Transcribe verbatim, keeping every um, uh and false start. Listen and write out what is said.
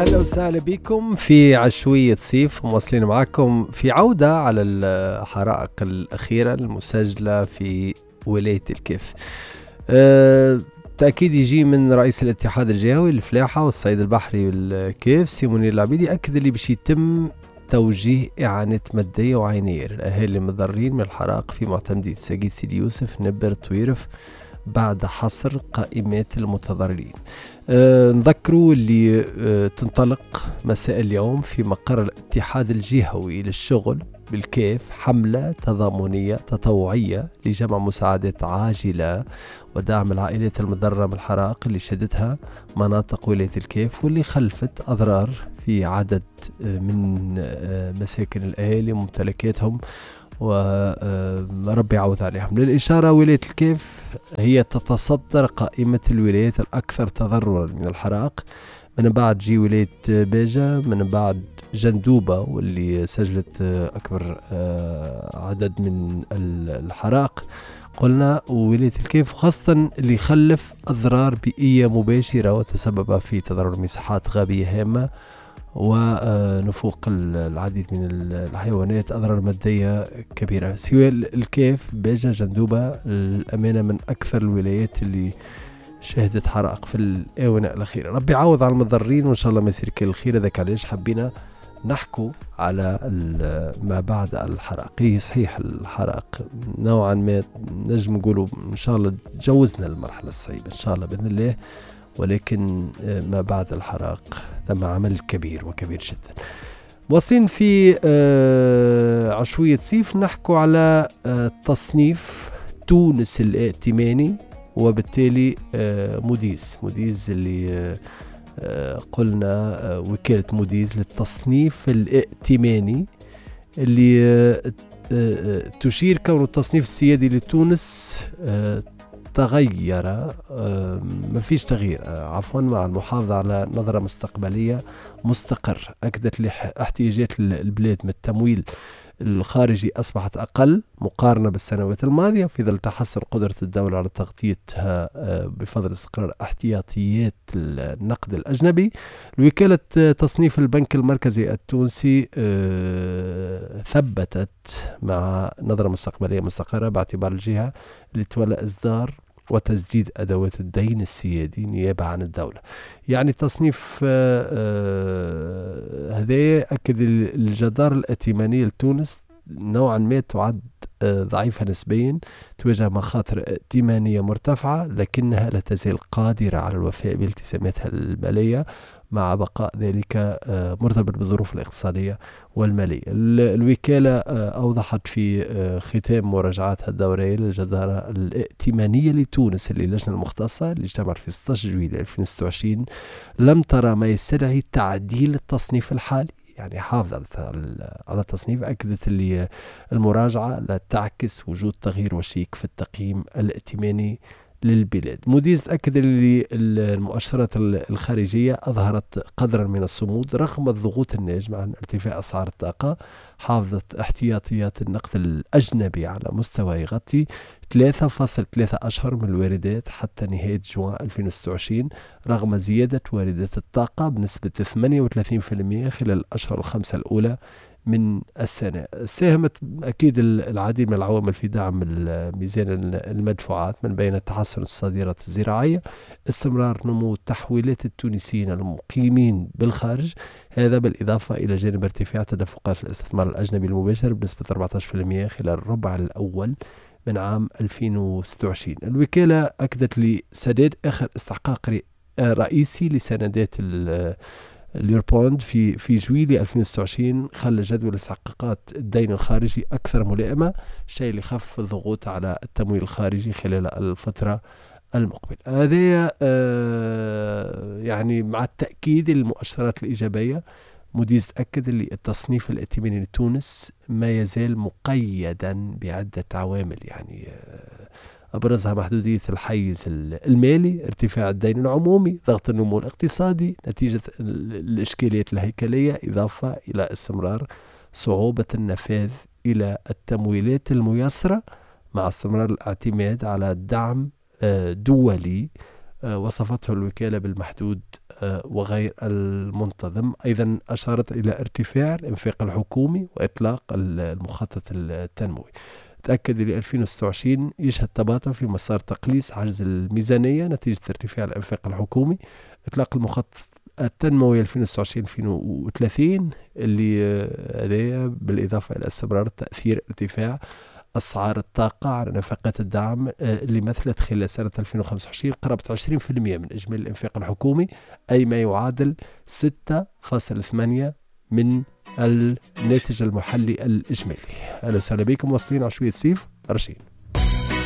أهلا وسهلا بكم في عشوية صيف، مواصلين معكم في عودة على الحرائق الأخيرة المسجلة في ولاية الكاف. أه تأكيد يجي من رئيس الاتحاد الجهوي للفلاحة والصيد البحري والكاف سي منير العبيدي، أكد اللي باش يتم توجيه إعانات مادية وعينية للأهالي المتضررين من الحرائق في معتمدية ساقية سيدي يوسف نبر طويرف بعد حصر قائمات المتضررين. أه نذكروا اللي أه تنطلق مساء اليوم في مقر الاتحاد الجهوي للشغل بالكاف حملة تضامنية تطوعية لجمع مساعدات عاجلة ودعم العائلات المتضررة من الحرائق اللي شهدتها مناطق ولاية الكاف واللي خلفت أضرار في عدد من مساكن الأهالي وممتلكاتهم، وربي يعوض عليهم. للإشارة ولاية الكاف هي تتصدر قائمة الولايات الأكثر تضررا من الحرائق، من بعد جي ولاية باجة، من بعد جندوبة واللي سجلت أكبر عدد من الحرائق قلنا، وولاية الكاف خاصة اللي خلف أضرار بيئية مباشرة وتسبب في تضرر مساحات غابية هامة ونفوق العديد من الحيوانات، أضرار مادية كبيرة. سواء الكاف باجة جندوبة الأمانة من أكثر الولايات اللي شهدت حرائق في الآونة الأخيرة. ربي يعوض على المتضررين وإن شاء الله ما يصير كل الخير. هذاك علاش حبينا نحكوا على ما بعد الحرائق. هي صحيح الحرائق نوعا ما نجم نقولوا إن شاء الله تجاوزنا المرحلة الصعيبة إن شاء الله بإذن الله، ولكن ما بعد الحرائق ثم عمل كبير وكبير جدا. واصلين في عشوية صيف نحكوا على تصنيف تونس الائتماني وبالتالي موديز موديز اللي قلنا وكالة موديز للتصنيف الائتماني اللي تشير كون التصنيف السيادي لتونس تغير، ما فيش تغيير عفوا، مع المحافظة على نظرة مستقبلية مستقر. أكدت احتياجات البلاد من التمويل الخارجي أصبحت أقل مقارنة بالسنوات الماضية في ظل تحسن قدرة الدولة على تغطيتها بفضل استقرار احتياطيات النقد الأجنبي. وكالة تصنيف البنك المركزي التونسي ثبتت مع نظرة مستقبلية مستقرة باعتبار الجهة اللي تولى إصدار وتسديد أدوات الدين السيادي نيابة عن الدولة. يعني التصنيف هذا أكد الجدار الائتمانية لتونس نوعا ما تعد ضعيفة نسبيا، تواجه مخاطر ائتمانية مرتفعة لكنها لا تزال قادرة على الوفاء بالتزاماتها المالية مع بقاء ذلك مرتبط بالظروف الاقتصادية والمالية. الوكالة أوضحت في ختام مراجعاتها الدورية للجدارة الائتمانية لتونس اللي اللجنة المختصة اللي اجتمعت في ستة عشر جويلية ألفين وستة وعشرين لم ترى ما يستدعي تعديل التصنيف الحالي، يعني حافظت على التصنيف. أكدت اللي المراجعة لا تعكس وجود تغيير وشيك في التقييم الائتماني للبلاد. موديز أكد اللي المؤشرات الخارجية أظهرت قدرا من الصمود رغم الضغوط الناجمة عن ارتفاع أسعار الطاقة. حافظت احتياطيات النقد الأجنبي على مستوى يغطي ثلاثة فاصلة ثلاثة أشهر من الواردات حتى نهاية جوان ألفين وستة وعشرين رغم زيادة واردات الطاقة بنسبة ثمانية وثلاثين بالمئة خلال الأشهر الخمسة الأولى من السنة. ساهمت أكيد العديد من العوامل في دعم ميزان المدفوعات من بين تحسن الصادرات الزراعية، استمرار نمو تحويلات التونسيين المقيمين بالخارج، هذا بالإضافة إلى جانب ارتفاع تدفقات الاستثمار الأجنبي المباشر بنسبة أربعة عشر بالمئة خلال الربع الأول من عام ألفين وستة وعشرين. الوكالة أكدت لسداد آخر استحقاق رئيسي لسندات اليوربوند في في جويلية ألفين وستة وعشرين خلى جدول استحقاقات الدين الخارجي أكثر ملائمة، الشيء اللي خف الضغوط على التمويل الخارجي خلال الفترة المقبلة. هذا يعني مع التأكيد المؤشرات الإيجابية. موديز أكد اللي التصنيف الائتماني لتونس ما يزال مقيدا بعدة عوامل، يعني أبرزها محدودية الحيز المالي، ارتفاع الدين العمومي، ضغط النمو الاقتصادي نتيجة الإشكاليات الهيكلية، إضافة إلى استمرار صعوبة النفاذ إلى التمويلات الميسرة مع استمرار الاعتماد على دعم دولي وصفته الوكالة بالمحدود وغير المنتظم. أيضا أشارت إلى ارتفاع الإنفاق الحكومي وإطلاق المخطط التنموي. تأكد ل ألفين وستة وعشرين يشهد تباطؤ في مسار تقليص عجز الميزانية نتيجة ارتفاع الإنفاق الحكومي. إطلاق المخطط التنموي ألفين وستة وعشرين ألفين وثلاثين اللي هذايا بالإضافة إلى استمرار تأثير ارتفاع أسعار الطاقة على نفقات الدعم اللي مثلت خلال سنة ألفين وخمسة وعشرين قرابة عشرين بالمئة من إجمالي الإنفاق الحكومي، أي ما يعادل ستة فاصل ثمانية من الناتج المحلي الإجمالي. أهلا وسهلا بكم، واصلين عشوية سيف رشيد.